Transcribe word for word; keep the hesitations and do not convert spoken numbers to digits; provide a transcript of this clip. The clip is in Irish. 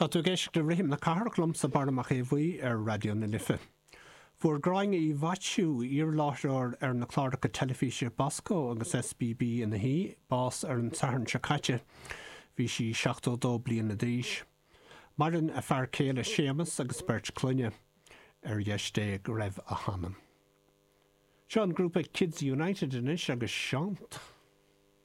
Tá tú ag éisteacht le Rithim na Cathrach liomsa Barra Mac Aodha Bhuí ar Raidió na Life. Fuair Gráinne Uí Mhaitiú iarláithreoir ar na cláracha teilifíse Bosco agus SBB ina hí, bás ar an Satharn seo caite, bhí sí seachtó dó bliana d'aois. Maireann a fear céile Séamus agus beirt clainne ar dheis Dé go raibh a hanam. Seo an grúpa Kids United anois agus Seant.